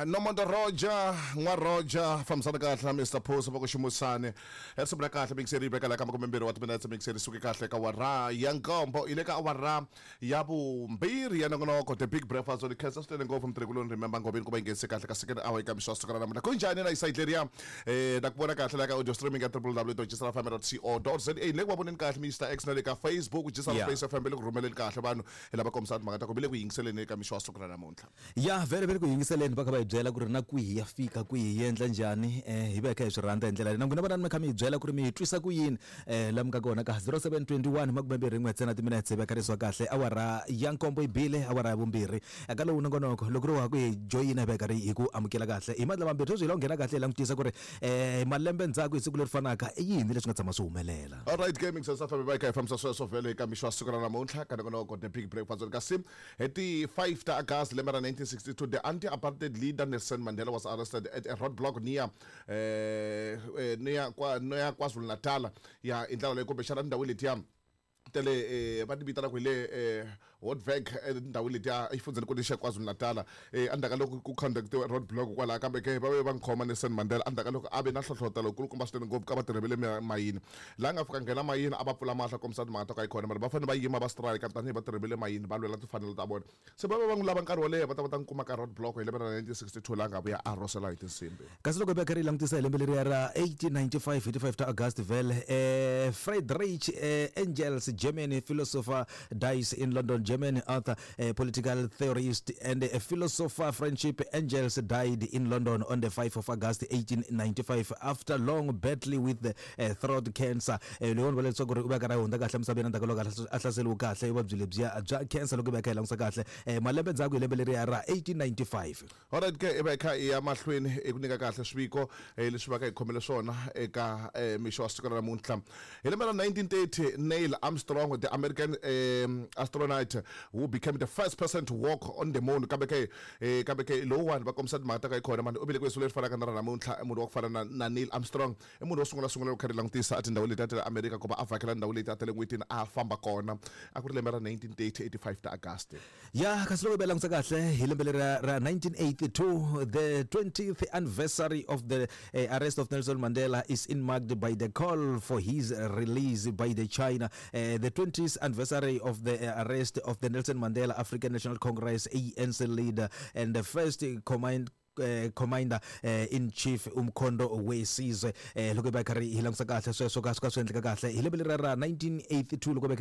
Nomonto Roger n'wa Roger fambisana kahle na Mr Post va ku ximusani risimu ra kahle mixeri yi veka la ka 20 wa timinetse mixeri suke kahle ka awara ya nkombo yi le ka awara ya vumbirhi ya nongonoko The Big Breakfast ni khensa swinene ngopfu mutirhikuloni Remember Ngobeni ku va yi nghenise kahle ka second hour eka mixo wa siku ra namuntlha ku njhani na isayidi leriya na ku vona kahle la ka audio streaming ka www.gsrfm.co.za le ku va voneni kahle Mr X na le ka Facebook GSR Space FM le ku rhumeleni kahle vanhu hi lava kombisa timhaka ta ku ve le ku yingiseleni eka mixo wa siku ra namuntlha. Ya vhele ve le ku yingiseleni va kha va hi byela ku ri na kwihi ya fika kwihi yi endla njhani hi va hi kha hi swi rhandza hi ndlela leyi na n'wina vanani mi kha mi hi byela ku ri mi hi twisa ku yini la mi nga kona ka 0721 21 ntsena timinetse hi veka leswa kahle awara ya nkombo yi bile awara ya vumbirhi eka lowu nongonoko loko ri wa ku hi joyina hi va hi karhi hi ku amukela kahle hi mandla mambirhi sweswi hi la ku nghena kahle hi langutisa ku ri malembe ndzhaku hi siku leri fanaka i yini leswi nga tshama swi humelela. Alright gaming South Africa va hi kha hi fambisa sweswo vhele eka mixo wa siku ra namuntlha ka nongonoko The Big Breakfast kasi hi ti 5 ta August lembe ra 1962 the anti-apartheid leader Nelson Mandela was arrested at a roadblock near near kwa near KwaZulu-Natal ya i ndlela leyi kumbexana tindhawu letiya ta le va ti vitanaka hi le Hotberg etindhawini letiya exifundzhenikulu xa KwaZulu-Natal endzhaku ka loko ku conduct-iwe road block kwalaho kambe ke va ve va n'wi khoma Nelson Mandela endzhaku ka loko a ve na nhlohlotelo wukulukumba swinene ngopfu ka vatirhi va le mayini laha nga fika nghena mayini a va pfula mahlo a kombisa timhaka ta ku a yi kona mara va fanele va yima va strike tanihi vatirhi va le mayini va lwela timfanelo ta vona se va ve va n'wi lava nkarhi wo leha va ta va ta n'wi kuma ka road block hi lembe ra 1962 laha nga vuya a rhosela hi tinsimbhi. Kasi loko hi va karhi hi langutisa hi lembe leriya ra 1895 hi ti 5 ta August vhele Friedrich Engels Germany philosopher dies in London Germany author political theorist and a philosopher Friendship Engels died in London on the 5 of August 1895 after long battle with the throat cancer. Leyi vula leswaku ri u va karhi a hundza kahle emisaveni endzhaku ka loko a hlaseriwe kahle hi vuvabyi lebyiya bya cancer loko hi va hi kha hi langutisa kahle malembe ndzhaku hi lembe leriya ra 1895. Alright ke i va hi kha hi ya mahlweni hi ku nyika kahle swiviko leswi va ka hi khomele swona eka mixo wa siku ra namuntlha. Hi lembe ra 1930 Neil Armstrong the American astronaut who became the first person to walk on the moon kambe ke kambe ke lowuwani va kombisa timhaka ta ka yi kona mani u velekiwe siku leri fanaka na ra namuntlha i munhu wa ku fana na Neil Armstrong i munhu wo sungula sungula loko kha ri langutisa tindhawu leti a ti le Amerika ku va a vhakela ndhawu leti a ta le n'wetini a famba kona a ku ri lembe ra 1930 85 ta August. Ya kasi loko hi langutisa kahle hi lembe leri ra 1982 the 20th anniversary of the arrest of Nelson Mandela is in marked by the call for his release by the China. The 20th anniversary of the arrest of the Nelson Mandela African National Congress ANC leader and the first command commander in chief Umkhonto we Sizwe. Loko hi va hi karhi hi langutisa kahle sweswo ka swi ka swi endleka kahle hi lembe leri ra 1982 loko hi va.